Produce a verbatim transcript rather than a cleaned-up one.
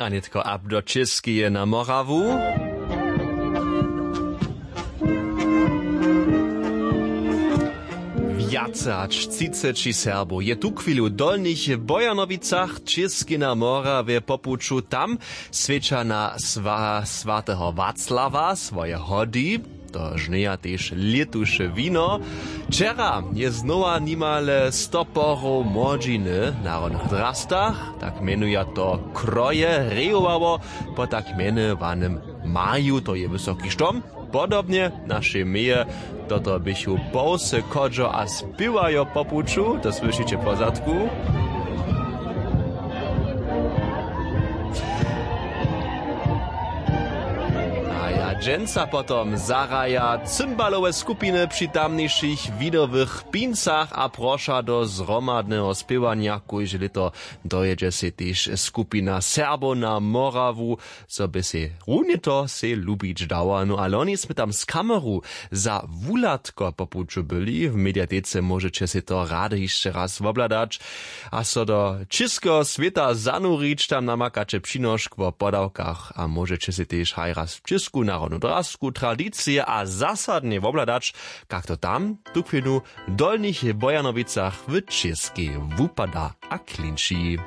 A nětko ab do Čěskeje na Morawu. Wjace hač třiceći Serbow je tuchwilu w Dolnich Bojanowicach, Čěskej na Morawje, po puću tam swjeća na swa-, swateho Waclawa swoje hody. To žnjeja tež lětuše wino. Wčera je znowa nimale sto porow młodźiny w narodnych drastach, tak mjenuja to kroje, rejowało po tak mjenowanym Maju, to je wysoki štom. Podobnje w našej meje, toto běchu połsy chodźo a spěwajo po puću, to słyšiće w pozadku. A ja dźensa potom zahraja cymbalowe skupiny při tamnišich winowych pincach a proša do zhromadneho spěwanja. Kóžde lěto dojědźe sej tež skupina Serbow na Morawu, zo by sej runje to sej lubić dała. No a loni smy tam z kameru za wuhladko po puću byli. W mediatece móžeće sej to rady hišće raz wobhladać a so do čěskeho swěta zanurić. Tam namakaće přinošk wo podawkach a móžeće sej tež haj raz čěsku narodnu drasku, tradicije a zasadnje wobhladać, kak to tam tuchwilnu w Dolnich Bojanowicach w Čěskej wupada a klinči.